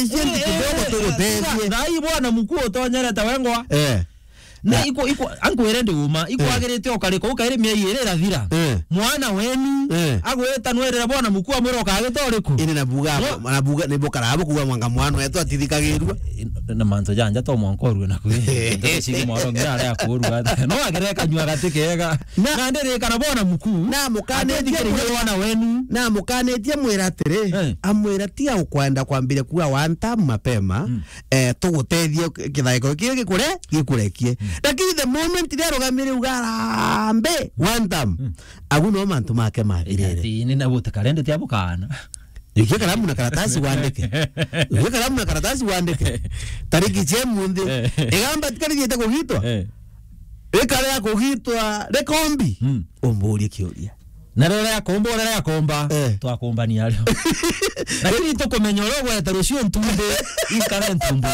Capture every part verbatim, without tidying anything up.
Iciendi kidogo tugutethie. Thaa hii bwana mkuu utonyerete wengwa. Eh. Na iko, iko, ankwire ndi uma, ikwagirite ukarika, ukairi mieri iri irathira. Eh. Mwana wenu, eh, agwita nwirire bwana mkuu amwira ukagita uriku? Ini nabuga, no, nabuga, ni bukara abo kuga mwanga mwana wetu atithikagirua. Na mantu janja to mwanka urue na kwi. Ndio sigi mwaro ngira aria kurua. No agire kanyua gati kega. Na, na ndirikana bwana mkuu, na mukanitie atithikiririe mwana wenu. Na mukanitie mwira atiri, eh, amwira tiga ukwenda kwambiria kuga one term mapema, mm, eh, tugutethie kithaiko kiri gikure, gikurekie. Mm. Lakini the moment ria rugamire uga arambe, one term, mm, agu no mantu make mathirire. Ati ni na gute karende tia bukana. Ikia karamu na karatasi wandike. Ikia karamu na karatasi wandike. Tariki cia munthi. Eh. Igamba tikarigiite kugitwa. Eh. Rikarea kugitwa, rikombi. Mm. Umburie kiuria. Na riria akomba, riria akomba, eh, twakombania ario. Lakini tukumenya uria ugwete rucio ntumbi, inkare ntumbi.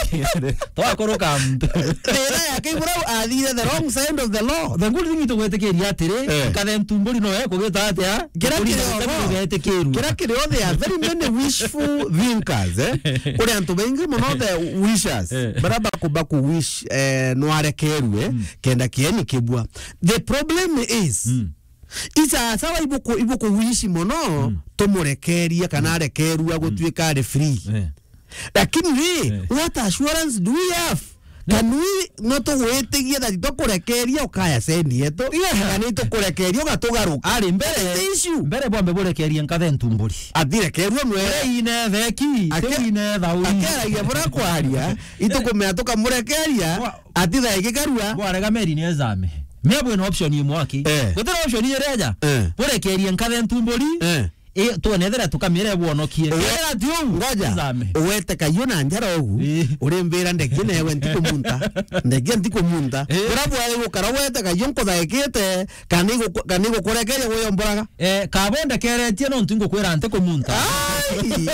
Twakuruka muntu. Thina yake ibura athire the wrong side of the law. The good thing tugwitikiria atiri, eh, nkare ntumburi no ekugita atia? Kira kiri ogo, ugetikirua. Kira kiri o, there are very many wishful thinkers, eh? Kuri antu baingi muno the wishers. Eh. Bara baku, baku wish, eh, nwarekerue, mm, kenda kieni kibua. The problem is, mm, isasawa ibuku, ibuku wish muno, mm, tumurekeria kana, mm, arekerua, mm, gutuika ari free. Eh. Lakini ri, eh, what assurance do we have? Can we, no tugwitigia that tukurekeria ukaya sendi yetu? Yeah. Kana itukurekeria ugatugaruka? Ari mbere, that is the issue. Mbere bwambe burekerie nkathe ntumburi. Athirekerua mwe. Ure ine theki, ake-, tiu ine thauri. Akeragia bura kwaria, itukumea tukamurekeria, bwa-, atithae gikarua. Bwarega meri ni ezame. Mia bwina option imwe aki. Eh. Gutira option ireja. Eh. Burekerie nkathe ntumburi. Eh. I, twone ethira tukamire bwonokie. Uwe-, ethira ti uu, ngoja. Zame. Uwete kaiyo na njara ugu, ii, urimbira ndegie newe ntikumunta. Ndegie ntikumunta. Ii. Bura bwari gukara wete kaiyo nkuthaikite, kana igu-, kana igukurekeria guyomboraga. Eh, kaba undekeretie nontu ngukwira ntikumunta. Ai!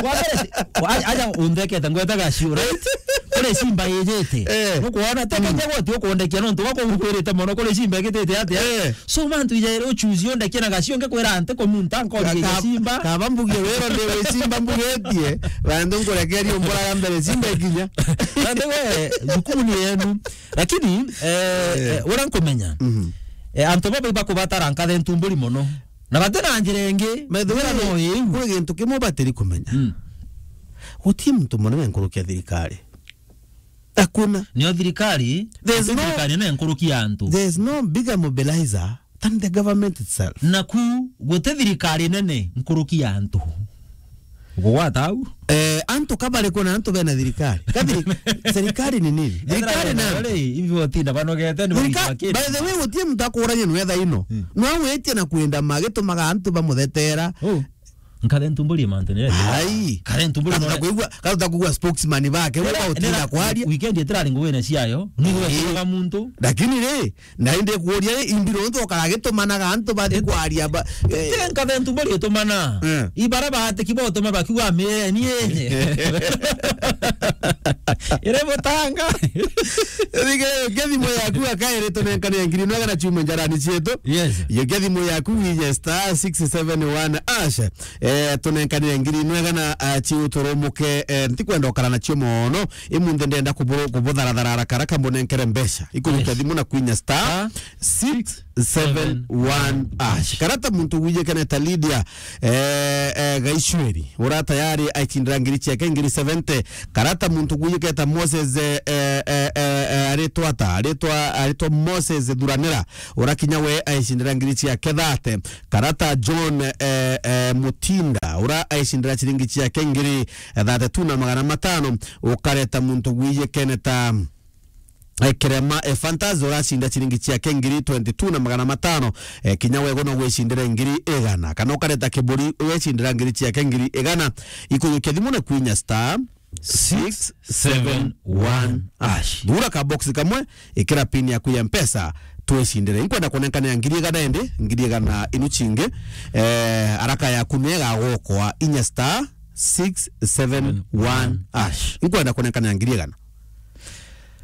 Wa mbere, wa-, aja, aja unthekete ngwetaga cio, right? Kuri simba ijite. Eh. Nukwona, tekenya, mm, goti ukundekia nontu gwa kungukwirite mono kuri simba igitite atia. Eh. So, mantu ijaire uchuzi undekie na gacio ngikwira nti kumunta nkoria ka-, simba. Kaba mbugie wiro ndi wi simba mbugetie, bandu nkurekeria umburaga mbere simba ikinya. Nandi we, jukumu ni yenu. Lakini, eh, eh, eh, uria nkumenya, mhm, eh, antu baba ibakubatara nkathe ntumburi mono. Na batina njira ingi, by the way, njira no iu. Kwi gintu kimwe batiri kumenya. Mm. Guti muntu munene nkurukia thirikari. Hakuna. Nio thirikari, there's no, thirikari nene nkuruki ya antu. There's no bigger mobilizer than the government itself. Naku, guti thirikari nene nkuruki ya antu. Gugwata au? Eh, antu ka bari kuna antu bena thirikari. Ka thiri-, serikali ni nini? Thirikari ni antu. Ri, hivi watinda banogete ni thirika-, wakiri. By the way, guti muntu akurania nwe thaa ino. Hmm. No witie na kwenda magitumaga antu bamuthetera. Oh. Nkathe ntumburi mantu ni. Ai. Nkathe ntumburi. Katuta kuigua, katuta kuigua spokesman bake, we utinda kwaria. Weekend itirari nguine ciayo, ni gwe muntu. Lakini ri, na indi kuuria ri, imbiro ntu okaragitumanaga antu bathi kwaria ba, eh. Nkathe ntumburi itumana. Eh. Ibara batiki botuma bakiuga mie ni enye. Ire butanga. Rige, nge thimu yaku akairi tunenkane ngiri nwega na ciume njarani cietu. Yes. Yo nge thimu yaku wije star six seven one hash. Eh, tunenkanire ngiri nwega na, ah, ciu turumuke, eh, ntikwenda ukara nacio mono. Imunthe ndenda kuburu-, kubutharathara haraka haraka mbunenkere mbeca. Ikurukia thimu na kwinya star six seven one hash. Karata muntu wijikene ta Lydia, eh, eh, Gaicweri. Ura tayari aicindira ngiri ciake ngiri seventy. Karata muntu gwijiketa Moses, eh, eh, eh, eh, aritwa ata? Aritwa, aritwa Moses Thuranira. Ura kinya we aicindira ngiri ciake thate. Karata John, eh, eh, Mutinda. Ura aicindira ciringi ciake ngiri thate tu na magana matano. Ukareta muntu gwijikene ta eh, Kerema, eh, Fantas uracinda ciringi ciake ngiri twenty-two na magana matano, eh, kinya wego no gwicindira ngiri igana. Kana ukareta Kiburi ugecindira ngiri ciake ngiri igana. Ikujukia thimu na kwinya star six seven one hash. Thura ka box kamwe, ikira pin yaku ya Mpesa, twicindire. Inkwenda kunenkanira ngiri igana indi, ngiri igana inu cingi, eh, haraka yaku ni igagukwa inya star six seven one hash. Inkwenda kunenkanira ngiri igana.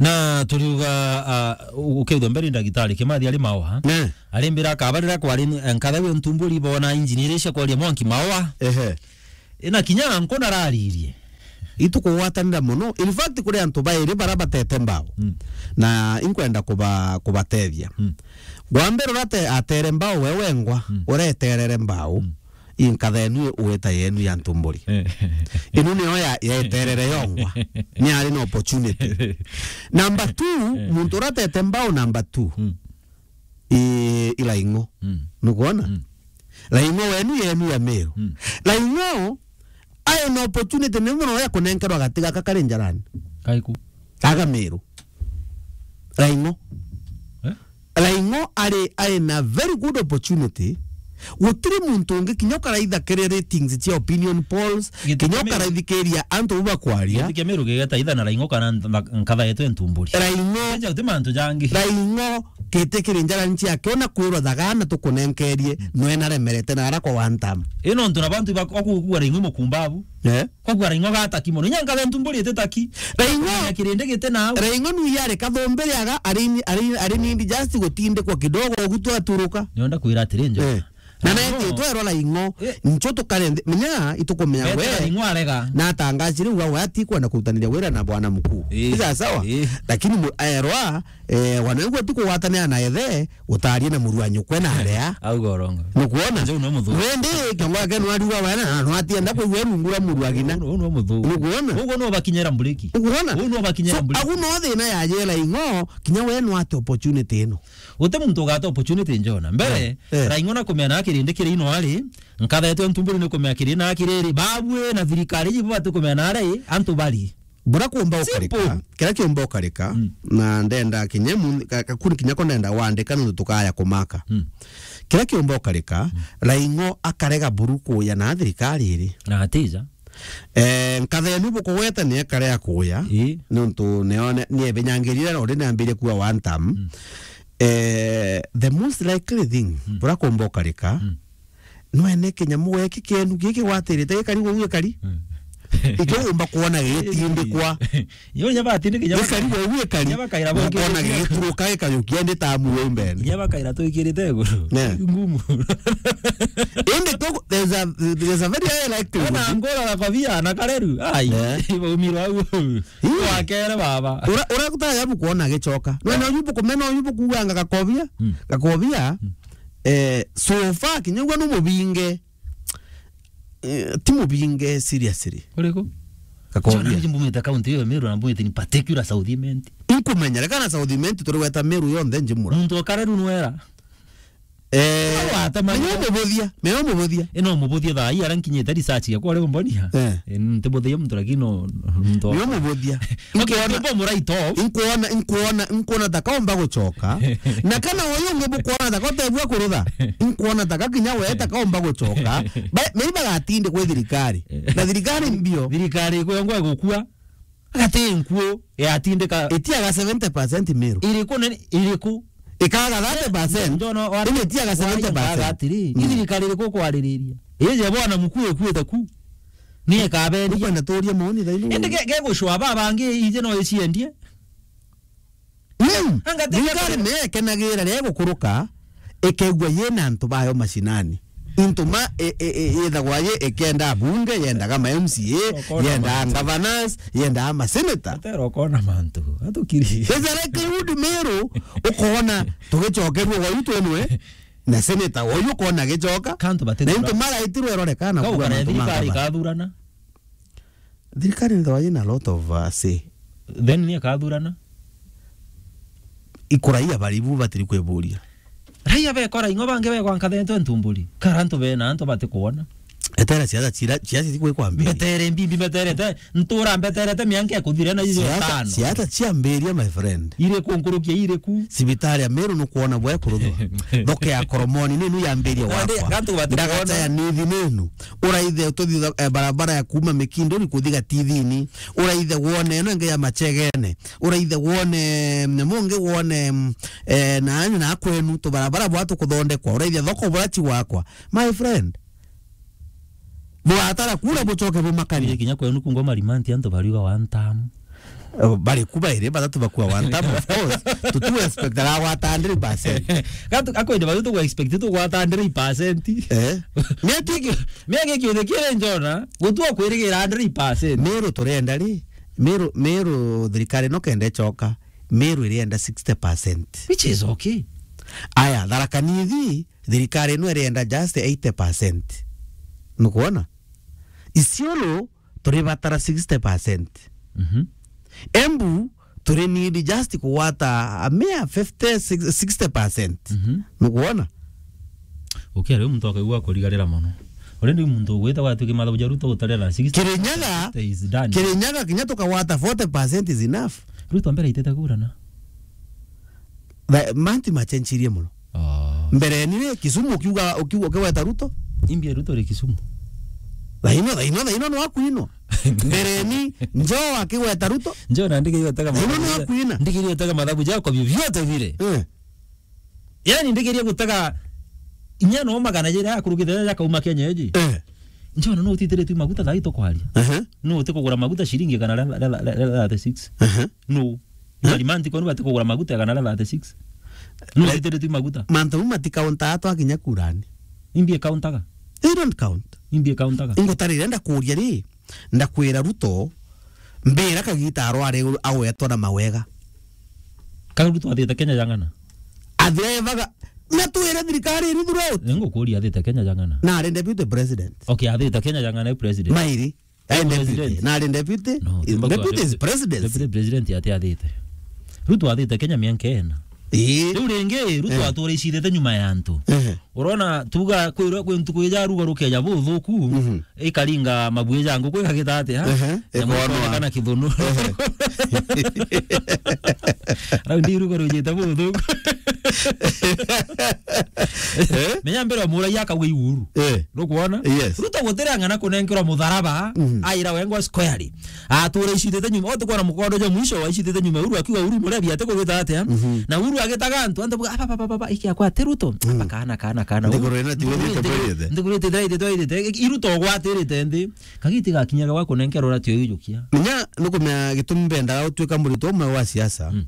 Na turiuga, ah, u-, ukethwa mbere ndagitari Kimathi ari Maua. Ne. Ari mbira akaba riria kwari n-, nkatha wi ntumburi bona injini iria cia kwaria mwanki Maua. Ehe. Ina kinya nku nararirie. itukugwatanira mono. In fact, kuri antu bairi bara batete mbao. Mm. Na inkwenda kuba-, kubatethia. Mm. Wa mbere uria ate-, atere mbao we wengwa, mm, uria eterere mbao, mm, inkatha yenu wita yenu ya ntumburi. Eh. Inu niyo ya, ya eterere yongwa. Ni ari na opportunity. Number two, eh, muntu uria atete mbao number two. Mm. I, i Laing'o. Mm. Nukwona? Mm. Laing'o wenu yenu ya Meru. Mm. Laing'o ae na opportunity nene mono ya kunenkerwa gati gaka kari njarani. Kaiku. Aga Meru. Laing'o. Eh? Laing'o ari, ari na very good opportunity. Gutiri muntu ungi kinya ukaraitha kiri ratings cia opinion polls, kinya ukaraithikiria antu bu bakwaria. Giti kia Meru gigeta itha na Laing'o kana ntha-, nkatha yetu e ntumburi. Laing'o. Eja uti mantu jangi. Laing'o giti kiri njarani ciake ona kwirwa thagana tukunenkerie, mm, nwe naremerete na ara kwa one term. Ino ntu na bantu ba-, okugua Laing'o mukumbabu. Eh? Kogua Raing'o gataki mono. Inya nkathe ntumburi iti taki. Raing'o. Na kirindi giti nau. Raing'o nu yari kathumbiri aga, ari ni, ari, ari ni just gutindikwa kidogo, ugu twaturuka. Nionda kwira atiri, njo. Eh. Na, na neti twero Raing'o. Eh. Ncho tukare nthi, menya itukumenya we. Raing'o arega. Na atangazi riu wa ati kwenda kurutaniria wira na bwana mkuu. Eh. Ni sawa sawa? Eh. Lakini mu-, aerwa, eh, wana ugwe tu kugwatanira na ethe, utarie na muru wa nyukwe na aria. Auga urongo. Nukwona? Njo no muthu. Wendi kiongo yake nwariuga wena, na nwatienda kwigua rungu rwa muru agina. Uu no muthu. Nukwona? Uguo no bakinyira mburiki. Nukwona? Uu no bakinyira mburiki. So, agu no thina ya jela ing'o, kinya we nwate opportunity ino. Uti muntu ugate opportunity njona. Mbere, eh, eh, Raing'o na kumena kirindi kiri ino ari, nkathetwe ntumburi ni kumea kiri na kiriri. Babue na thirikari ibu bati kumena ari, antu bari. Bura kumba ukarika, simple. Kira kiumba ukarika, mm, na ndenda kinya mu-, ka-, kakuni kinya ko ndenda wandika nuntu tukaya kumaka. Mm. Kira kiumba ukarika, mm, Raing'o akarega buru kuya na thirikari iri. Na atija. Eh, nkathe yenu bukugweta ni akarega kuya, ii, nuntu nione, niebinyangirire na uri niambirie kuwa one term. Mm. Eh, the most likely thing, mm, bura kumba ukarika, mm, nwene kinyamu geki kienu giki gwatirite gikari gwe gikari. Mm. Ikio umba kuona gitindikwa. Yo nya batindike nya gikari gwe gikari. Nya bakaira bo ukona gituruka gikajukia ndi tamu we mbene. Nya bakaira twikirite iguru. Ne. Ngumu. Indi tu, there's a, there's a very high likelihood. Ona ngora na kobia na kareru. Ai. Ne. Ibo umiro au. Ii. Wakere baba. Ura, ura kutaya bukuona gicoka. Nwene uyu bukumena uyu bukuanga gakobia. Mm. Gakobia. Mm. Eh, so far, kinya ugwe nu mubinge. Eh, ti mubinge seriously. Uriku? Gakombia. Jona mbumite county iyo ya Meru na mbumite in particular South Imenti. Inkumenya, reka na South Imenti turi gweta Meru yonthe njimura. Muntu okare ru nwera. Eh, menya umubuthia, menya umubuthia. Ino umubuthia thaa hii ara nkinyite research yakwa uri umbonia. Eh. Eh, ntibuthia muntu lakini no, muntu. Menya umubuthia. Okay, inkuona, ntiumba mu right off. Inkuona, inkuona, inkuona ta kaomba gucoka. Na kana uyu ungi bukuona ta kotegua kurutha. Inkuona ta kakinya we ta kaomba gucoka. Ba, maybe bagatinde kwi thirikari. Na thirikari mbio. Thirikari kwengwa gukua. Agati nkuo yatindika. Itiaga seventy percent Meru. Iriku nene, iriku? Ikaga thirty percent. Ndono wa- Indi itiaga seventy percent. Atiri, mm, ni thirikari iriku kwaririria? Ije bwana mkuu ekuite ku. Ni ikabendia. Ukwenda turie maoni thaini. Indi ge-, gegucwa baba bangi ije no iciendie. Mm. Anga te- Thirikari ni ekenagira ria gukuruka, ikegua yina antu bayo mashinani. Into ma, e, e, e, yethagwa ye ikenda abunge, yendaga ma M C A, yendaga governors, yendaga ma senator. Atero kona mantu, atukiri. There's a likelihood Meru, ukona tugicokerwa gwa yu twenwe, na senator wa yu ukona agicoka. Kantu batithura. Na into maraitirwe irorekana kuwa mantu ma thirikari gavana. Ikathurana. Thirikari nthwa yina lot of, uh, say. Then ni akathurana? Ikuraia baribu batiri kwiburia. Raia bekora ing'o bangi bekwa nkathetwe ntumburi. Kara antu bena antu batikuona. Etera siasa chira, siasa sikwe kwambia. Mbetere mbimbi, mbeterete, ntura mbeterete mianka ikuthire na ijo tano. Siasa, siasa chiambiria, my friend. Iriku nkurukia iriku? Cibitari ya Meru nukwona bwe kuruthwa. Thoke ya Koromoni ninu yambiria wakwa. Ndagata ya nithi ninu. Uraithe ututhi, eh, barabara ya kuma Mikinduri kuthi Gatithini. Uraithe wone ino ingi ya Machegene. Uraithe wone, mm, mungi wone, mm, eh, na, na kwenu tubarabara bwa tukuthondekwa. Uraithe thoko bura chigwakwa. My friend. Bwatara kura bucoke bumakanie. Kinya kwenu kungwa marimanti antu bariuga one term. Eh, bari ku bairi, batatu bakua one term, of course. Tutu expect agwata hundred percent. Gatu, akwende batu tugu expect tugwata hundred percent. Eh? Miaka iki-, miaka iki uthikire njona, gutua kwirigira hundred percent. Meru turenda ri, Meru, Meru thirikari no kende choka, Meru irienda sixty percent. Which is okay. Aya, Tharaka Nithi, thirikari ino irienda just eighty percent. Nukwona? Isiolo, turibatara sixty percent. Mhm. Embu, turi need just kugwata a mere fifty, sixty percent. Mhm. Nukwona? Ukiaria muntu akaigua kurigarira mono. Uri ndi muntu ugwita gwatuki mathabu ja Ruto gutarira sixty, Kirinyaga, sixty is done. Kirinyaga kinya tukagwata forty percent is enough. Ruto mbere aitite kura na? Ba-, mantu machenchirie mono. Oh. Mbere ni ri, Kisumu ukiuga, ukiuga, ukigweta Ruto? Imbie Ruto ri Kisumu. Thaino, thaino, thaino no akuinwa. Mbere ni Joho akigweta Ruto? Joho na ndigeria gutega. Thaino no mathabu ja-, akuina. Ndigeria gutega mathabu jako vyovyote vile. Eh. Yani ndigeria gutega inya no magana jira akurukite jakauma Kenya eji. Eh. Joho no utitiritwe maguta thaa ii tukwaria. Aha. No utikugura maguta shilingi igana ria, ria, ria, ria thirty-six. Aha. No. Eh? Ngari manti kwenu bati kugura maguta igana ria thirty-six. No, eh, utitiritwe maguta. Mantu mau matikauntaa twakinya kurani. Imbi ikauntaga? They don't count. Imbi ikauntaga? Ingutarire ndakuria ri, ndakwira Ruto, mbira kagita arware agwetwa na mawega. Ka Ruto athite Kenya jang'ana? Athire evaga, na twire thirikari iri throughout. Ngukuria athite Kenya jang'ana? Na ari deputy president. Okay, athite Kenya jang'ana e president. Mairi. Eh, deputy. President. Na ari deputy. No, deputy is president. Deputy president ati athite. Ruto athite Kenya miaka ena. Ii. Riu ringi, Ruto, eh, atura icithite nyuma ya antu. Ehe. Urona, tuga kwirwa kwi ntuku ija ruga rukeja buthuku, mhm, ikaringa mabui ja nguku ikagita atia? Ehe. Nyamu ikonwa. Ikonekana kithunu. Ehe. Raundi ruga rujite buthuku. Eh? Menya mbere omuragia akauga i Uhuru. Eh. Nukwona? Yes. Ruto gutira ng'ana kunenkerwa mutharaba, mhm, aira wengwa squarely. Atura icitite nyuma, ote kwona mukondo ja mwisho wa icitite nyuma, Uhuru akiuga Uhuru Murebi ate kugwita atia? Mhm. Na Uhuru agitaga antu, antu buga, "Aba, aba, aba, aba, iki akwa ati Ruto?" Mm. Aba kana, kana, kana. Ndiguru ina ti withite bwirite. Ndiguru ite, ite, ite, ite, i Ruto gwatirite nthi. Kagiti gakinya gwa kunenkerwa ratio ijukia. Menya nukumenya gitumi mbendaga gutuika murito umwe wa siasa. Mm.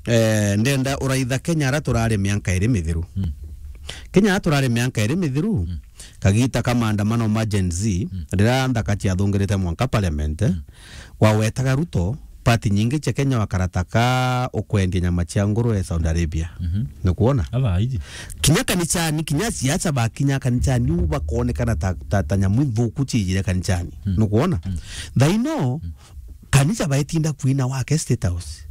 Eh, ndenda uraitha Kenya ara turari mianka iri mithiru. Mm. Kenya ara turari mianka iri mithiru, mm, kagita ka maandamano ma Gen Z, mm, riria nthaka ciathungirite mwanka parliament, mm, wawetaga Ruto, party nyingi cia Kenya wakarata ka ukwendia nyama cia ngurwe Saudi Arabia. Mhm. Nukwona? Aba aiji. Kinya kanicani, kinya siasa bakinya kanicani, u bakonekana ta, ta, ta nyamu nthuku ciijire kanicani. Mm. Nukwona? Mm. Thaino, mm, kanisa baetinda kwina wake State House.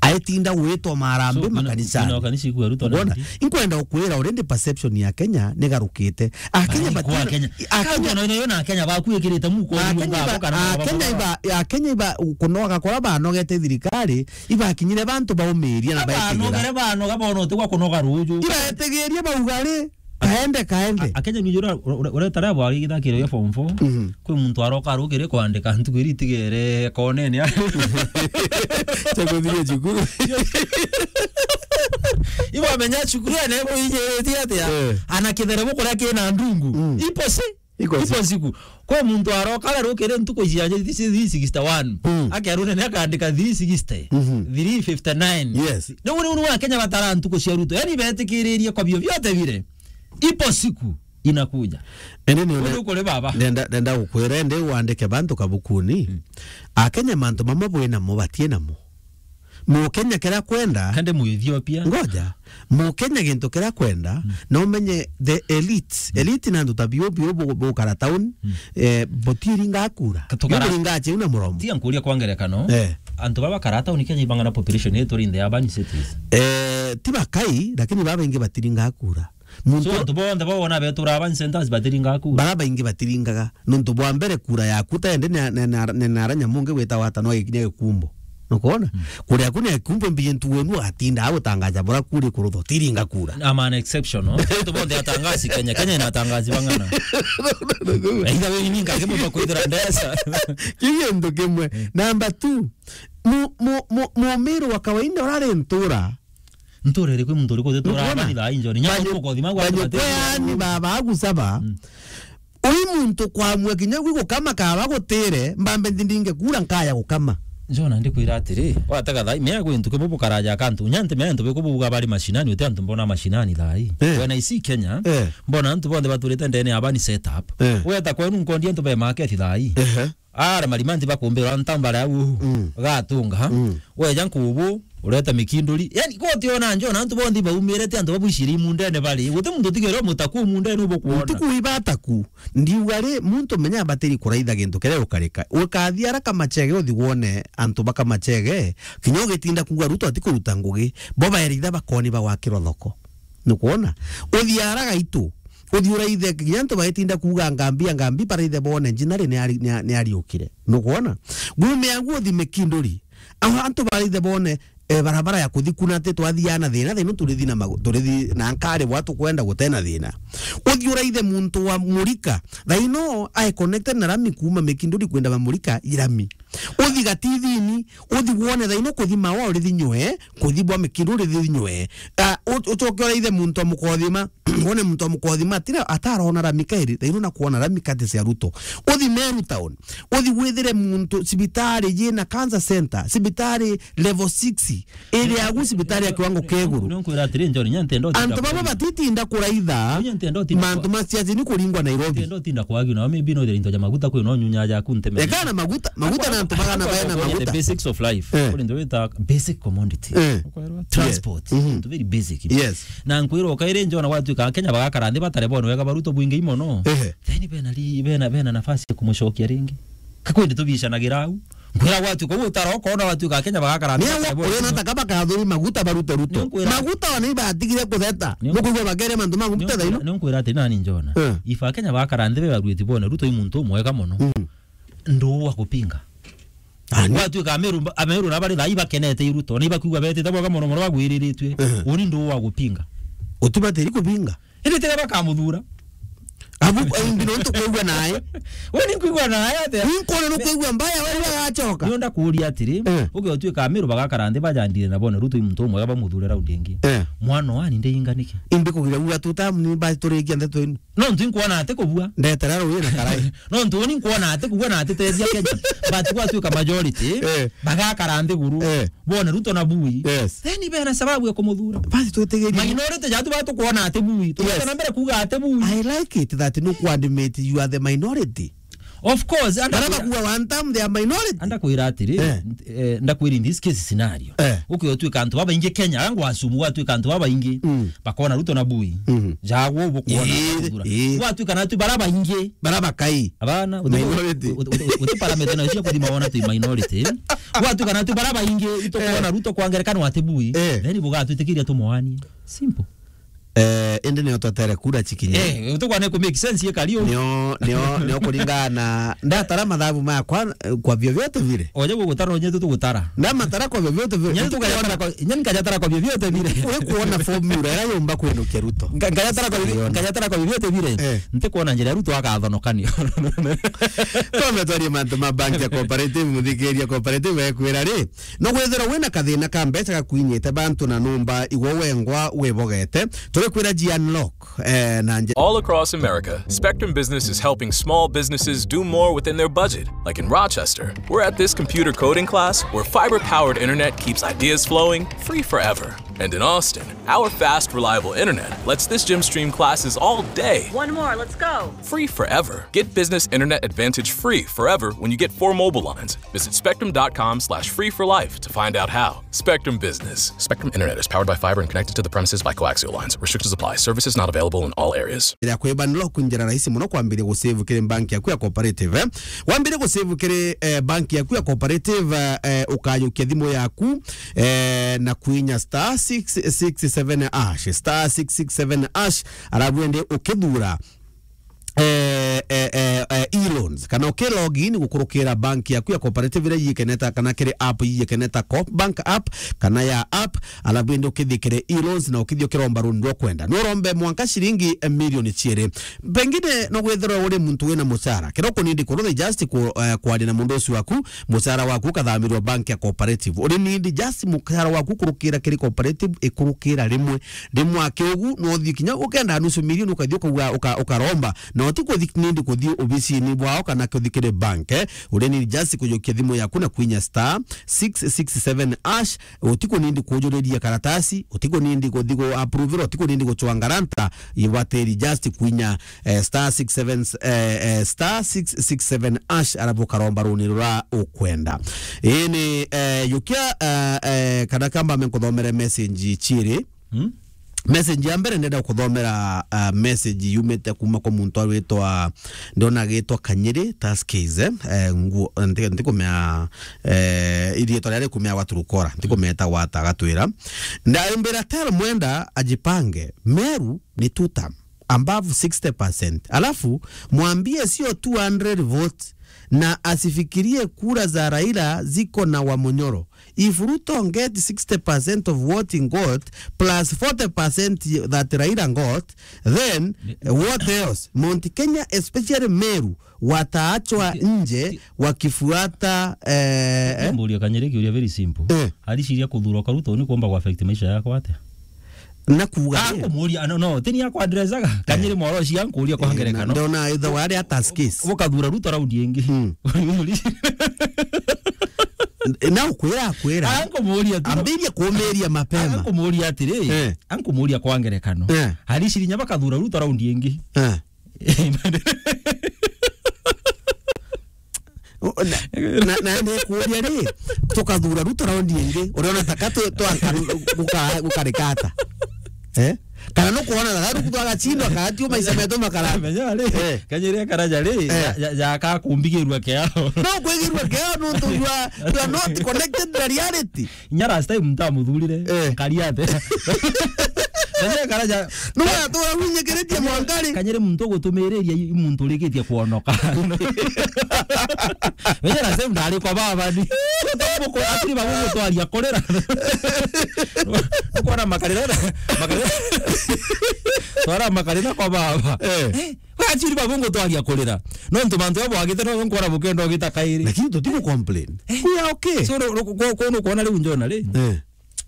Aetinda gwitwa marambi. So, kwina, makanisani. Kwina kanisa ikua Ruto. Ukwona? Nandi? Inkwenda ukwira already perception ya Kenya nigarukite. Akenya. Ai, kwa batina, Kenya. Akenya. Kau no, no, na Kenya bakuikirite muko. Akenya ngabo iba, kana Akenya baba iba, Akenya iba kunoga kora banogete thirikari, ibakinyire bantu baumiria na baetigera. Abanogere banoga bono tigwa kunoga ruju. Ibaetigirie bauga ri, Kaende, kaende. A-, Akenya ni jura, ura, ura, uretara bwari githakiro ya form four. Mhm. Kwi muntu aroka arukire kwandika ntuku iri itigere konene. Cha kuthiria cukuru. Ibo amenya cukuru ene bo ije eti atia? Eh. Ana kithere bo kuria kina ndungu. Mm. Ipo si? Iko si. Ipo siku. Kwi muntu aroka arukire ntuku cia three sixty-one. Mm. Akerune ni akandika three sixty. Mhm. Three fifty-nine. Yes. Ni uri uri wa Kenya batara ntuku cia Ruto. Yani betikiririe kwa bio biote bire. Ipo siku inakuja. Ende ni Uri ukuri baba. Nenda, nenda gukwira, ende wandike bantu kabukuni. Mm. Akenya mantu mamwe bwi namo, batie namo. Mukenya kiria kwenda. Kande mu Ethiopia. Ngoja. Mukenya gintu kiria kwenda, mm, no menye the elite. Mm. Elite na antu ta bio bio bu-, bukara town, mm, eh, butiringa kura. Ka tukara- Buringa cheu na muromo. Tia nkuria kwa ngerekano. Eh. Antu baba kara town Kenya ibang'ana population yetu in the urban cities. Eh, ti bakai, lakini baba ingi batiringa kura. Muntu So, antu bonthe bawona betura urban centers batiringa kura? Bara baingi batiringaga. Nontu bwa mbere, kura yaku ta ende ni, ni, ni, ni nara nyamu ungi gwita wata no ikinya gikumbo. Nukwona? Mm. Kura yaku ni gikumbo, mbiji ntu wenu agatinda agutangaja bura kura ikurutho, tiringa kura. I'm an exception, no? Antu bonthe atangazi Kenya. Kenya ina atangazi bang'ana. Either way, ni ngage mumba kwithira ndesa. Kiu gintu kimwe. Mm. Number two, mu-, mu-, mu-, mumiru wa kawaida urari ntura. Ntura iriku muntu uriku utitura Nukwona? Abani thaa injoni? Nya Banyu-, ukothi magu banyu atubate. Kweani baba agusaba. Mm. Ui muntu kwamua kinya gwi gukama kaba gutire, mbambe ndindinge kura nkaya gukama. Njona ndikwira atiri, watega thai, mea gwi ntuke bubu karaja kantu, nyanti mea ntu bikubuga bari mashinani, uti antu mbona mashinani thai. Eh. When I see Kenya, Eh. mbona antu bonthe baturite ndene aba ni set up. Eh. Weta kwenu nkondi antu be market thai. Ehe. Ara marimanti bakumbira ntambara au. Mm. Gatunga. Mm. Weja nkubu, ureta mikinduri. Yani, kotiona njona antu bonthe baumire ti antu babushiri mundene bari. Guti muntu tigere mutaku mundene ubukuona. Ntuku ibataku. Ndiuga ri, muntu menya abatiri kuraitha gintu kiria ukarika. Ukathi ara kamachege uthi wone antu bakamachege, kinya ugitinda kuuga Ruto atikuruta ngugi, bo baeritha bakoni bagwakirwa thoko. Nukwona? Uthi ara gaitu, uthi uraithe kinya antu baetinda kuuga ngambi, ngambi baraithe bone njinari ni ari-, ni a-, ni ariukire. Nukwona? Gume agu uthi mikinduri. Aho antu baraithe bone, eh, barabara ya kuthi kuna ati twathiana thina, thina turithi na magu-, turithi na nkari bwa tukwenda gutena thina. Uthi uraithe muntu wa murika, thaino ae connected na rami kuma mikinduri kwenda mamurika irami. Uthi gatithini, uthi wone thaino kuthi mawa urithi nywe, kuthi bwa mikinduri urithi nywe. Ah, u-, ucoke uraithe muntu wa mukothima, wone muntu wa mukothima, atira, atarona rami kairi, thaino na kuona rami kati cia Ruto. Uthi Meru town, uthi withire muntu cibitari yina cancer center, cibitari level six, iri agu cibitari ya kiwango kia iguru. Nonkwira atiri, Njoni, nya ntendo tinda Antu baba kwagi. Batitinda kuraitha Nya ntendo tinda mantu kwa- ma siasa ni kuringwa Nairobi. Ntendo tinda kwagi, na maybe no into ja maguta kwi no nyunya ja kunteme. Eka na maguta, maguta na antu bagana baena maguta. The basics of life. Eh. Kuri ndo wita basic commodity. Eh. Transport. Yes. Mhm. Into very basic. Yes. Na nkwira ukaire Njona gwatuika Kenya bagakara nthi batare bono wega baruto bwingi mono. Ehe. Then bena ri-, bena, bena nafasi ya kumucokia ringi. Kakwende tubicanagira au. Nkwira gwatuika uu utara ukona gwatuika Kenya bagakara nthi Ni batare awo bono. Uriona ta kaba kathuri maguta barute Ruto. Nonkwira- Maguta ona ibatigire kutheta. Ni- Mukuigua bagere mantu ma maguta thaino. Nonkwira ati nani Njona. Eh. Ifa Kenya bagakara nthi be baruti bone Ruto i muntu umwega mono. Mm. Nduu wa kupinga. Ani? Gwatuika Ameru, Ameru na bari thai bakenete i Ruto, ni bakuigua betite bwega mono mono bagwiriritue. Ehe. Uni nduu wa gupinga. Utibatiri kupinga? Indi tiga bakamuthura. Abu, imbi no ntukwigua nae. We ni nkwigua nae atia? Ni nkwona nukwigua mbaya, we agacoka. Ni onda kuuria atiri, Eh. uge utuika Ameru bagakara nthi bajandire na bone Ruto i muntu umwega bamuthure raundi ingi. Eh. Mwana wani ndeinga niki? Imbi kugira uga tuta ni ba turikia ndeto inu. No ntu inkwona ati kubua. Ndetera ruuji na karai. No ntu ni nkwona ati kubua na ati tethia Kenya. But gwatuika majority, Eh. bagakara nthiguru. Eh. Bone Ruto na Bui. Yes. Then bena sababu ya kumuthura. Basi twetegerie. Minority jatu batukwona ati Bui. Tuketa Yes. na mbere kuuga ati Bui. I like it that no kuandimate you are the minority. Of course, anda Bara kwira- bakuga one time they are minority. Anda kwira atiri, Eh. eh, ndakwira in this case scenario. Eh. Uke utuika antu babaingi Kenya, angu asumu gwatuika antu babaingi. Mm. Bakona Ruto na Bui. Mhm. Jagwo ubu kuona Ii, bakuthura. Ii. Gwatuika na tu bara baingi. Bara bakai. Abana, uti- Minority. uti- uti- uti parameter na cia kuthima wona tu minority. Gwatuika na tu bara baingi, itukwona Eh. Ruto kwa ngerekano ati Bui. Eh. Then bugatwitikiria tumoanie. Simple. Eh, indi nio twetere kura cikinye. Eh, utukwa ni ku make sense ye kari u. Nio, nio, nio kuringana na ndatara mathabu maya kwa, kwa vyovyote vile. Oje gugutara, onye tu tugutara. Ndamatara kwa vyovyote vile. Nyenye tukajatara kwa, nyenye nkajatara kwa vyovyote vile. Uri kuona formula ira yumba kwinukia Ruto. Nga-, nkajatara kwa, Siona. nkajatara kwa vyovyote vile. Eh. Nti kuona njira Ruto akathonokanio. Twambe twarie mantu ma bank ya Cooperative, muthikiria Cooperative ekwira ri, no gwithirwa wina kathina ka mbeca gakwinyite bantu na numba igwe wengwa wibogete, turikwira ji unlock, eh, na nje- All across America, Spectrum Business is helping small businesses do more within their budget. Like in Rochester, we're at this computer coding class where fiber-powered internet keeps ideas flowing free forever. And in Austin, our fast, reliable internet lets this gym stream classes all day. One more, let's go. Free forever. Get business internet advantage free forever when you get four mobile lines. Visit spectrum dot com slash free for life to find out how. Spectrum Business. Spectrum Internet is powered by fiber and connected to the premises by coaxial lines. Restrictions apply. Services not available in all areas. Ira kwi unlock njira rahisi muno kwambiria gusave kiri bank yaku ya Cooperative, eh? Wambire gusave kiri, eh, bank yaku ya Cooperative, eh, ukajukia thimu yaku, eh, na kuinya star six six seven hash, star six six seven hash, arabu ende ukithura eh, eh, eh, eh, e-loans, kana uki log in gukurukira bank yaku ya Cooperative iria ikeneta, kana kiri app ikeneta, Coop Bank app, kana ya app, alafu indi ukithikire e-loans na ukithio kiromba loan rwa kwenda. No urombe mwanka shilingi, eh, milioni ciiri. Pengine no gwithirwa uri muntu wina mucara. Kira ukunindi kurutha just ku, eh, kwaria na mundu ucio waku, mucara waku ukathamirwa bank ya Cooperative. Uri nindi just mucara waku kurukira kiri Cooperative, ikurukira rimwe. Rimwe aki ugu, no uthii kinya ukenda nusu milioni, ukathii ukauga, uka-, ukaromba, na utikuthi nindi kuthii obisini bwao kana kuthi kiri bank, eh, uria ni just kujukia thimu yaku na kwinya star six six seven hash. Utikunindi kujuriria karatasi, utikunindi kuthi ku approve, utikunindi gucwanga ranta, ibatiri just kwinya, eh, star six seven, eh, eh, star six six seven hash, arabu ukaromba runi rura ukwenda. Ini, eh, yukia, eh, eh, kana kamba me nkuthomere message ciiri. Hmm? Message ya mbere ndenda kuthomera, uh, message yumite kuma kwa muntu awitwa, ndona agitwa Kanyiri Taskis, eh? Eh, nguo, nti-, ntikumea, eh, iriitwa riria rikumea gwa Turukora, ntikumeta gwata gatwira. Ndaimbira, "Tell Mwenda ajipange, Meru ni two term, above sixty percent. Alafu, mwambie sio two hundred votes, na asifikirie kura za Raila ziko na Wamunyoro. If Ruto get sixty percent of what he got, plus forty percent that Raila got, then, eh, what else? Mount Kenya, especially Meru, wataachwa nje wakifuata, eh, eh?" Mburia Kanyiri kiuria very simple. Eh. Ariciria kuthurwa kwa Ruto ni kuomba ku affect maisha yakwa atia? Na kuuga ri? Ankumuria, no, no, tini akwa addressaga. Eh. Kanyiri Moroshi ankuria kwa, eh, ngerekano. Ndona ithe wari ata skis. Ukathura Ruto raundi ingi. Mm. Na ukwira, akwira. Ankumuria tu. Ambirie kumiria mapema. Ankumuria atiri, eh, ankumuria kwa ngerekano. Eh. Ariciria bakathura Ruto raundi ingi. Eh. Na, na, na nikuuria ri, tukathura Ruto raundi ingi, uriona taka tu-, twanka guka-, gukarika ata? Eh? Kana nukwona taka Ruto agacindwa, akatio maisha metu makara? Menya ri, eh, Kanyiri akaraja ri, eh, ya, ya, ya akakumbigirua kiao. No kwigirua kiao nuntu you are, you are not connected na reality. Inya last time ntamuthurire, eh, nkari ate? Kanyiri karaja. No, atura winyikiritie mwankari. Kanyiri muntu gutumiriria i muntu urikitie kuonoka. Inya last time ndari kwa baba ni. Atiri babu gutwaria kurira. Ukona makarira, makarira. Twara makarira kwa baba. Eh. Eh, we achiri babu ngutwaria kurira. Nontu mantu abo agite no nkora bukenda ugita kairi. Lakini tutiku complain. Eh. We are okay. So, ru-, ru-, ku-, ku-, nukwona riu njona ri? Eh.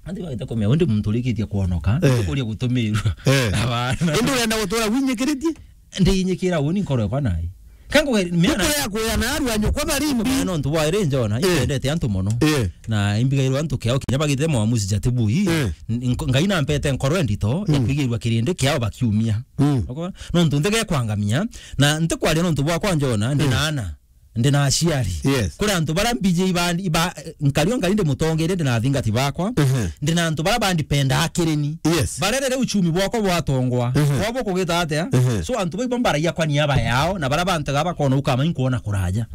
Andi bagita kumea, undi muntu urikitie kuonoka, eh, ndikuria gutumirwa. Eh. Abana. Indi urenda gutura winyikiritie? Ndinyikira uni nkoro yakwa nai. Kangu mea na kuya na aru anyu kwa barimbi. Mea nontu bwa iri njona, eh, indendete antu mono. Eh. Na imbigairwa antu kiao kinya bagite mwamusi jatibui. Eh. N-, nko-, Ngai nampete nkoro endito ya, mm, kwigirwa kirindi kiao bakiumia. Mm. Nontu ntige kwangamia, na ntikwaria nontu bwakwa njona, ndi, mm, na ana. Ndi na aciari. Yes. Kuri antu bara mbiji iba, iba, nkari o nkari ndi mutongeria, ndi na athingati bakwa. Mhm. Ndi na antu bara bandipendaa kireni. Yes. Barerere uchumi bwakwa bwatongwa. Mhm. Kwabo kugita atia? Mhm. So antu baibo mbaragia kwa niaba yao, na bara bantu ga bakona ukama inkuona kuraja.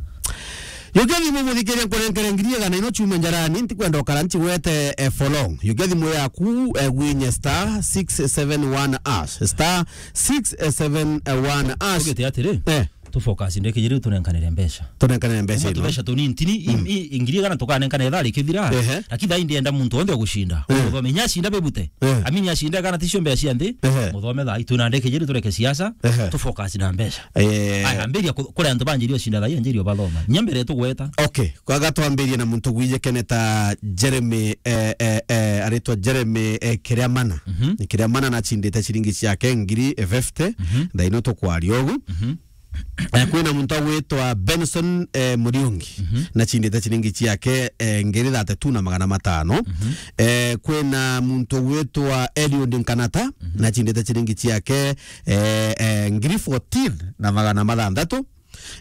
Yukia thimu muthikiria nkurenkere ngiri igana ino chume njarani, ntikwenda ukara nchigwete, eh, for long. Yukia thimu yaku, eh, gwinye star six seven one hash. Star six seven one hash. Ugite atiri? Eh. Tu focus ndeke jiri tunenkanire mbeca. Tunenkanire mbeca. Uma ino. Tubesha tunini ntini, mm, i, i, ngiri igana tukanenkana ithaa rikithira. Ehe. Lakini thaa ii ndienda muntu wonthe ugucinda. Eh. Muthome inya acinda bebute. Eh. Amini acinda kana ticio mbeca cia nthi. Ehe. Muthome thaa ii twina ndeke jiri tureke siasa. Ehe. Tu focus na mbeca. Eh. Aya, ambiria ku-, kuri antu banjiri ucinda thaa ii anjiri ubathoma. Nya mbere tugweta. Okay, kwaga twambirie na muntu gwije keneta Jeremy, eh, eh, eh, aritwa Jeremy, eh, Kiriamana. Mhm. Kiriamana nachindite ciringi ciake ngiri fifty. Mhm. Thaa ino tukwaria ugu. Mhm. Eh, kwina muntu agwitwa Benson, eh, Muriungi, mhm, nachindite ciringi ciake, eh, ngiri thirty-two na magana matano. Mhm. Eh, kwina muntu ugwitwa Eliud Nkanata, mhm, nachindite ciringi ciake, eh, eh, ngiri fourteen na magana mathanthatu.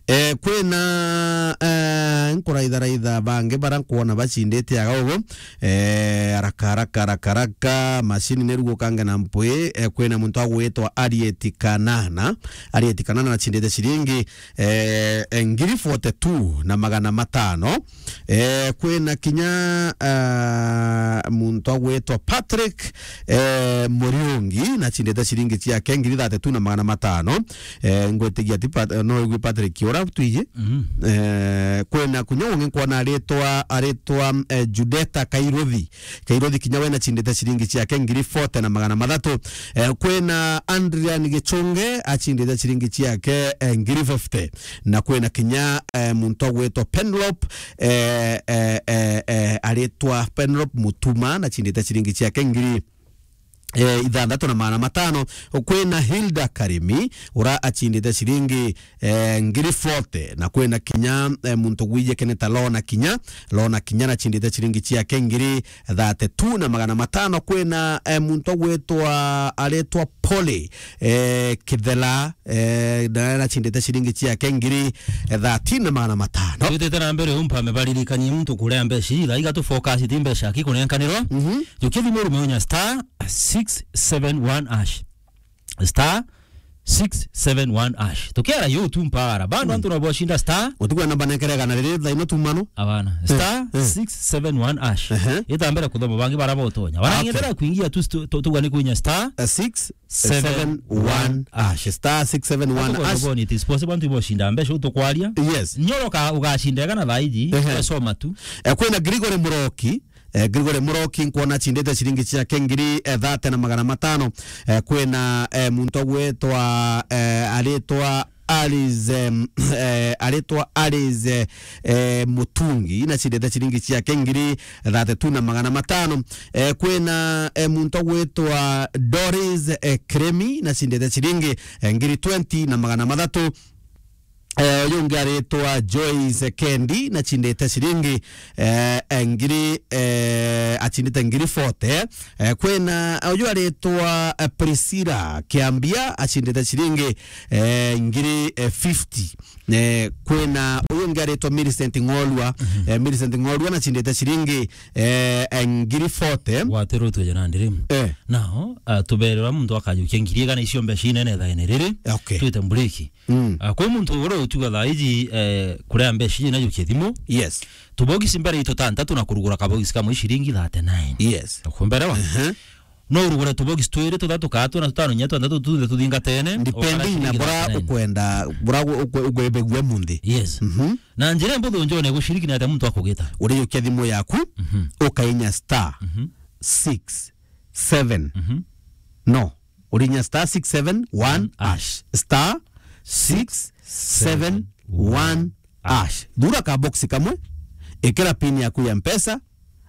Eh, kwina, eh, nkuraitharaitha bangi bara nkwona bachindite aga ugu. Eh, haraka, haraka, haraka, haraka, machine ni rugukange na mpwi. Eh, kwina muntu agwitwa Arieti Kanana. Arieti Kanana nachindite ciringi, eh, eh, ngiri forty-two na magana matano. Eh, kwina kinya, eh, muntu agwitwa Patrick, eh, Muriungi, nachindite ciringi ciake ngiri thirty-two na magana matano. Eh, ngwitigia ti Pat-, no igwi Patrick ura twiji. Mhm. Eh, kwina kunya ungi nkwona aritwa, aritwa, eh, Judeta Kairuthi. Kairuthi kinya we nachindite ciringi ciake ngiri forty na magana mathatu. Eh, kwina Adrian Gichunge achindite ciringi ciake, eh, ngiri fifty. Na kwina kinya, eh, muntu agwitwa Penlop, eh, eh, eh, eh, aritwa Penlop Mutuma nachindite ciringi ciake ngiri eh, ithanthatu na magana matano. Kwina Hilda Karimi, ura achindite ciringi, eh, ngiri forty, na kwina kinya, eh, muntu gwije kene ta Lona Kinya, Lona Kinya nachindite ciringi ciake ngiri thirty-two na magana matano. Kwina, eh, muntu gwitwa, aritwa Polly, eh, Kithela, eh, na nachindite ciringi ciake ngiri, eh, thirteen na magana matano. Twitite na mbere, umpa mebaririkanie muntu kuria mbeca ii, thaa iga tu focus ti mbeca aki kunenkanirwa. Mhm. Jukia thimu rume unya star six seven one hash. Star six seven one hash. Tukiara yo tu mpara. Bando Mm. antu nabo bashinda star. Utigwa namba nekerega na riri thaa ino tumano. Abana. Eh, Star eh. six seven one hash. Ehe. Itambere kuthoma bangi bara botonya. Bara Okay. ngendera kuingia tu stu-, tu-, tugwa ni kuinya star Eh, six seven one hash. Star six seven one hash. Atukwona boni, it is possible antu iboshinda mbeca utukwaria. Yes. Nyoro ka ugashinda ega na thaa iji, Ehe. wesoma tu. Eh, kwina Gregory Muroki, eh, Gregory Muroki nkwona achindite ciringi ciake ngiri, eh, thirty na magana matano. Eh, kwina, eh, muntu gwitwa, eh, aritwa Alice, em, eh, aritwa Alice, eh, eh, Mutungi, nachindite ciringi ciake ngiri thirty-two na magana matano. Eh, kwina, eh, muntu gwitwa Doris, eh, Kremi, nachindite ciringi, eh, ngiri twenty na magana mathatu. Eh, uyu ungi aritwa Joyce Kendi, nachindite ciringi, eh, eh, ngiri, eh, achindite ngiri forty. Eh, kwina uyu aritwa, eh, Priscilla Kiambia, achindite ciringi, eh, ngiri, eh, fifty. Eh, kwina uyu ungi aritwa Millicent Ng'orua. Mhm. Eh, Millicent Ng'orua nachindite ciringi, eh, eh, ngiri forty. Gwatirutwe jana ndirimu. Eh. Nao, ah, tuberera muntu akajukia ngiri igana icio mbeca inene thaene riri. Okay. Twite mburiki. Mm. Ah, kwi muntu uria utuga thaa iji, eh, kuria mbeca iji najukie thimu. Yes. Tubogisi mbere itu tantatu na kurugura kabogisi kamwe ciringi thirty-nine. Yes. Ukumberewa? Ehe. No urugure tubogisi twiri, tuthatu, kana tuna, tutano, inya, twanthatu, tunthe tuthingatene. Depending na bura ukwenda, bura ukwe-, ukwebegua munthi. Yes. Mhm. Na njira mbuthu njone gushiriki na ate muntu akugita. Urijukia thimu yaku, Mhm. ukainya star Mhm. six seven. Mhm. No. Urinya star six seven one hash. Star six seven one hash. Thura ka box kamwe, ikira pin yaku ya Mpesa,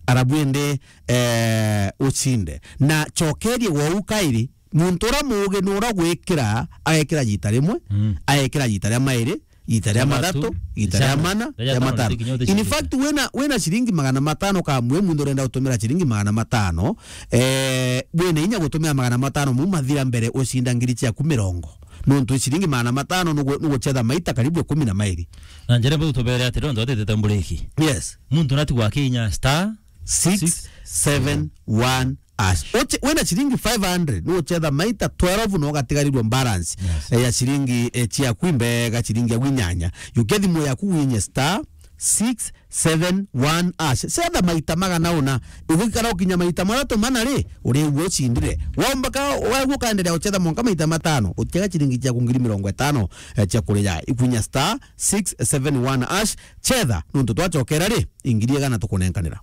arabu ende, eh, ucinde. Na chokerie wou kairi, muntu ura mugi ni ura gwikira, agekira jita rimwe, Mm. agekira jita ria mairi, ita ria mathatu, ita ria mana, ria matano. In fact, wina, wina ciringi magana matano kamwe, muntu urenda gutumira ciringi magana matano, eh, wina inya gutumira magana matano, mu mathira mbere ucinda ngiri ciaku mirongo. Nontu ciringi magana matano nugu-, nuguchetha maita karibu ikumi na mairi. Na njira mbau tubere atiri, nontu atitete mburiki. Yes. Muntu natigwa akinya star six seven one hash. Uche, wina ciringi five hundred, nuguchetha maita twelve na ugatigarirwa balance, Yes. eh, ya ciringi, eh, ciaku imbega, ciringi ya gwinyanya. Yukia thimu yaku winye star six seven one hash. Chetha maita magana una. Ugikara ukinya maita mathatu mana ri, urigua ucindire. Womba ka, wagua ukaendelea guchetha mwanka maita matano, utiega ciringi ciaku ngiri mirongo itano, eh, cia kuria. Ikwinya star six seven one hash. Chetha, nontu twachokera ri, ingiri igana tukunenkanira.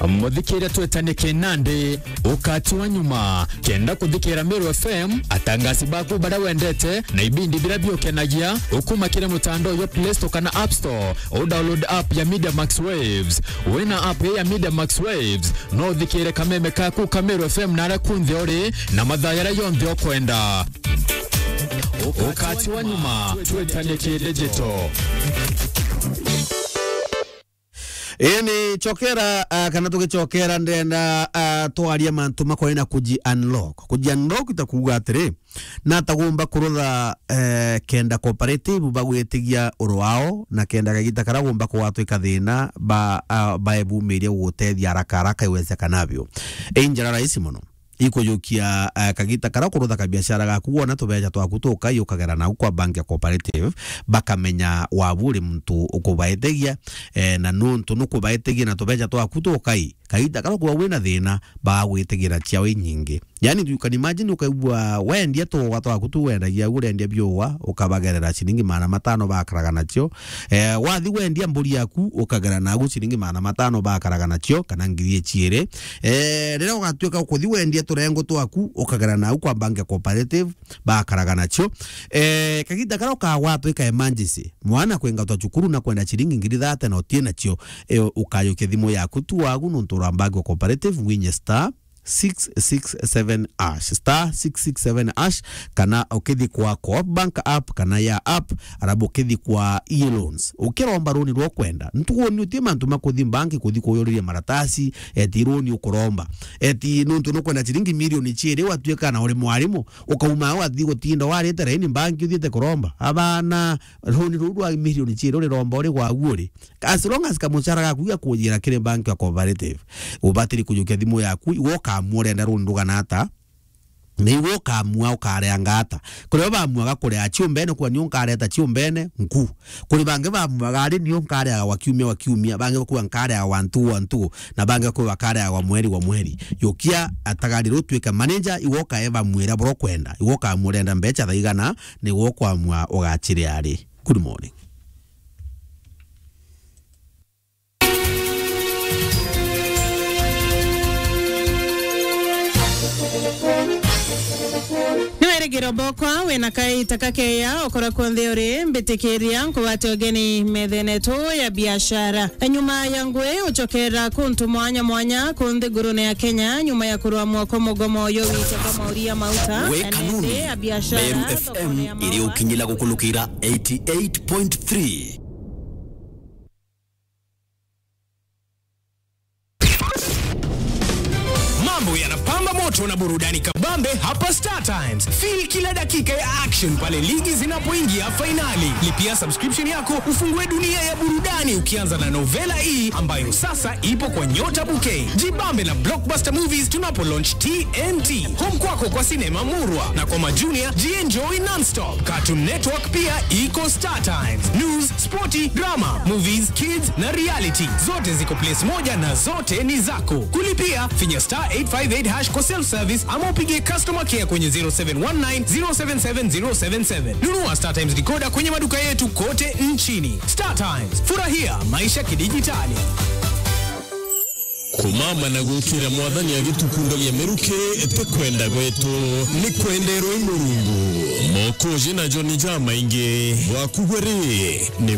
Muthikiria, twetane kinandi, ukati wa nyuma. Kenda kuthikira Meru F M, atangasi baku baria wendete, na ibindi biria biukenagia, ukuma kiri mutandao jwa Play Store kana App Store, u download app ya Media Max Waves. Wina app ya Media Max Waves, no uthikire kameme kaku ka Meru F M na aria kunthe uri, na mathaa jaria jonthe ukwenda. Ukati wa nyuma, twetane ki digital. Ii ni chokera, ah, kana tugichokera, ndenda, ah, twaria mantu makonie na kuji unlock. Kuji unlock ita kuuga atiri, nata gumba kurutha, eh, kenda cooperative bagwitigia uru wao, na kenda kagita karia gumba kugwatwika thina, ba, ah, baebumiria gugutethia haraka haraka iwezekanavyo. Ii njira rahisi mono. Ikujukia, eh, kagita karia kurutha kabiashara gaku, wona tubeca twaku tukai ukagera nau kwa bank ya cooperative, bakamenya wabu uri muntu ukubaetegia, eh, na nuntu nukubaetegia na tubeca twaku tukai, kagita karia ukwigua wina thina, bagagwitigira ciao inyingi. Yani, you can imagine, ukaigua wendia tuuga twaku tu wendagia au, urendia biuga, ukabagerera ciringi magana matano bakaraga nacio. Eh, wathi wendia mburi yaku, ukagera nagu ciringi magana matano bakaraga nacio, kana ngiri ichiiri. Eh, riria ugatuika ukuthi wendia turengo twaku, ukagera nagu kwa Bank ya Cooperative, bakaraga nacio. Eh, kaginda karia ukagwatwa ika emergency, mwana kwengatwa cukuru na kwenda ciringi ngiri thate na utie nacio, eh, ukayukia thimu yaku tu wagu nontu ura Bank ya Cooperative, winye star six six seven hash, star six six seven hash, kana ukithi kwa Coop Bank app kana ya app, arabu ukithi kwa e-loans. Ukiromba roni rwa kwenda, ntuoni utie mantu ma kuthi banki kuthi kuyuriria maratasi, eti roni ukuromba. Eti nontu nukwenda ciringi milioni chiiri, watuika na uri mwarimu, ukauma au wathi gutinda warite raini banki uthiite kuromba. Abana, roni ruu rwa milioni chiiri uriromba uri gwagu uri. As long as kamuchara gaku gakujira kiri bank ya Cooperative, ubatiri kujukia thimu yaku, iwe ukamua urenda runi rugana ata, na iwe ukamua ukareanga ata. Kuri o bamuaga kurea chiumbene, kuga niu nkareta chiumbene, nku. Kuri bangi bamuaga ari niu nkareaga gwa kiumia gwa kiumia, bangi bakuga nkareaga gwa ntugu gwa ntugu, na bangi bakuga bakareaga gwa mweri gwa mweri. Yukia atagari ruu tuike manager, iwe ukae bamwira bura ukwenda, iwe ukamua urenda mbecha thaigana, niwe ukwamua ugachiria ari. Good morning. Ni wirigiro bokwa wina kaita kakeya ukora kwonthe uri, mbitikiria nkugwate ugeni methene yetu ya biashara. Nyuma ya ngui ucokera kuntu mwanya mwanya ku nthigurune ya Kenya, nyuma ya kurwamwa kwa mugomo uyu wite kwa mauria mauta. We na Kanuni, nende ya biashara, Meru F M thokone ya iri maua. Ukinyila gukulukira eighty eight point three. Mambo yanapamba moto na burudani kabambe hapa Star Times. Feel kila dakika ya action pale ligi zinapoingia fainali. Lipia subscription yako, ufungue dunia ya burudani ukianza na novela hii ambayo sasa ipo kwa Nyota Bouquet. Jibambe na blockbuster movies tunapo launch T N T. Home kwako kwa sinema murwa na kwa majunia, jienjoy non-stop. Cartoon Network pia iko Star Times. News, sporti, drama, movies, kids na reality, zote ziko place moja na zote ni zako. Kulipia, finya star eight five eight hash kwa self service ama upigie customer care kwenye zero seven one nine zero seven seven zero seven seven. Nunua Star Times decoder kwenye maduka yetu kote nchini. Star Times, furahia maisha kidijitali. Kumama na gukira Mwathani agitukundagia miruki, ti kwenda gwetu, ni kwenderwa i Murungu. Mokoji na Joni jamaingi, bwaku bwe ri, ni